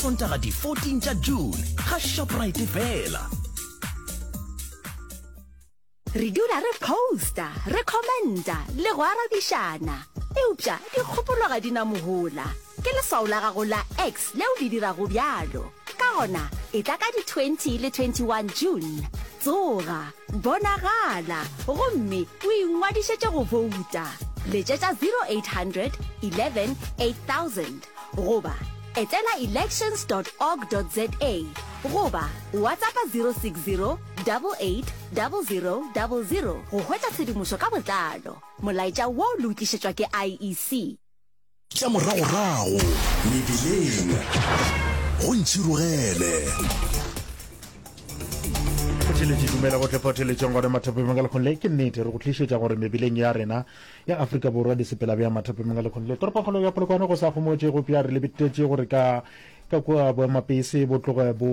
Sontaga di 14 tša June ga Shoprite fela. Re dula re posta, re commenta le go arabišana. Eupša dikgopolo ga di na mohola. Ke leswao la gago la X leo le dirago bjalo. Ka gona, etla ka di 20 le 21 June. Tsoga, bonagala, gomme o ingwadišetše go bouta. Letšetša 0800 11 8000 goba etela elections dot org dot za goba WhatsAppa 060 88 00 00 go hwetša tshedimošo ka botlalo. Molaetša wo le o tlišetšwa ke IEC. Tša moragorago mebileng go ntšhirogele. Theletše dumela go tlefa theletšeng gona mathapeng ka lekgong le ke nnete re go tlišetša gore mebileng ya rena ya Afrika Borwa di sepela bjang mathapeng ka lekgong le toropokgolo ya Polokwane go sa gomotše go pja re lebetetše gore ka ka kua boemapese bo tloge bo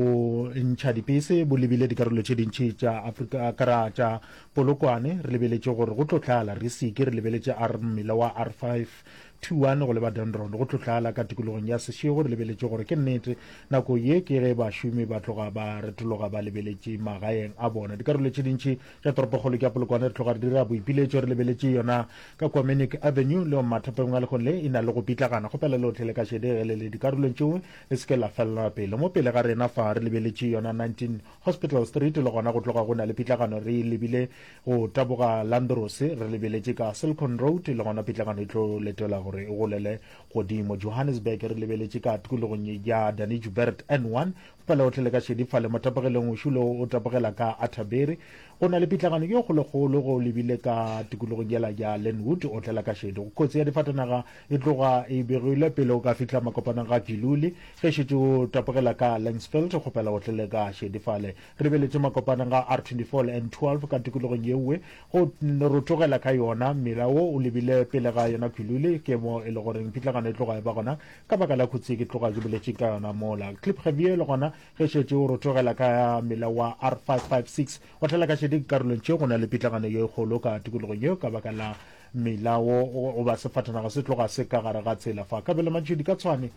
ntšha dipese bo lebile dikarolo tše dintši tša Afrika kara tša Polokwane re lebeletše gore go tlo tlala re seke re lebeletše R mmila wa R521 go leba Dendron go tlo tlala ka tikologong ya Seshego re lebeletše gore ke nnete nako ye ke ge bašomi ba tloga ba retologa ba lebeletše magaeng a bona. Dikarolo tše dintši tša toropokgolo ke ya Polokwane re tloga re dira boipiletšo re lebeletše yona ka kua Menick Avenue le mathapeng a lehono le e na le go pitlagana. Kgopela lohle le ka šedi ge le le dikarolong tšeo le se ke la felela pele. Mo pele ga rena fa re lebeletše yona 19 Hospital Street le gona go tloga go na le pitlagano re lebile go taboga Landros re lebeletše ka Silicon Road le gona pitlagano e tlo letelwa gore e golele godimo. Johannesburg re lebeletše ka tikologong ya Danny Joubert N1 fela otlhe le ka šedi fale mo tapogelong o šulo o tapogela ka Atterbury go na le pitlagano ye kgolokgolo go lebile ka tikologong yela ya Lenwood o tlela ka šedi. Kotsi ya difatanaga e tloga e begilwe pele o ka fihla makopanong ga Giluli. Ge šetše o tapogela ka Langsfield, kgopela o tlele ka šedi fale. Re lebeletše makopanong ga R24 le N12 ka tikologong yeowe go rotogela ka yona. Mmila wo o lebile pele ga yona Giluli, ke mo e le goreng pitlagano e tloga e ba gona ka baka la khutsi ke tloga ke boletše ka yona mola. Klipgevier le gona ge šetše o rotogela ka mmila wa R556 o tlela ka šedi dikarolong tše go na le pitlagano ye kgolo ka tikologong yeo ka baka la Mmila wo goba sefatanaga se tloga se ka gare ga tsela fa. Kabelo Mantšhidi ka Tshwane.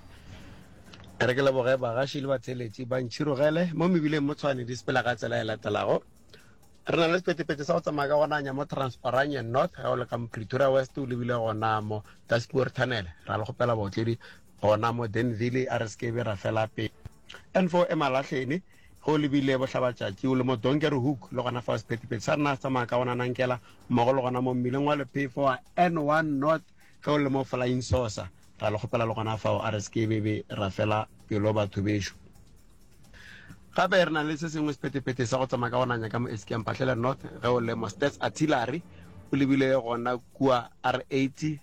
Re ke leboge bagaši le batheeletši ba Ntšhirogele mo mebileng mo Tshwane di sepela ka tsela e latelago. Re na le sephethephethe sa go tsamaya ka go nanya mo Transparanye North ge o le ka mo Pretoria West o lebile gona mo Daspoort Tunnel. Ra le kgopela baotledi gona mo Denville a re se ke be ra fela pele. N4 e Malahleni Ge o lebile bohlabatšatši o le mo Donkerhoek, le gona fao sephethephethe sa rena se tsamaya ka gona nankela, mmogo le gona mo mmileng wa lephefo wa N1 North ge o le mo Flying Saucer. Ra le kgopela le gona fao a re se ke be be ra fela pelo batho bešo. Gape re na le se sengwe sephethephethe sa go tsamaya ka go nanya ka mo Eskia Mphahlele North ge o le mo Stats Artillery o lebile gona kua R80 le.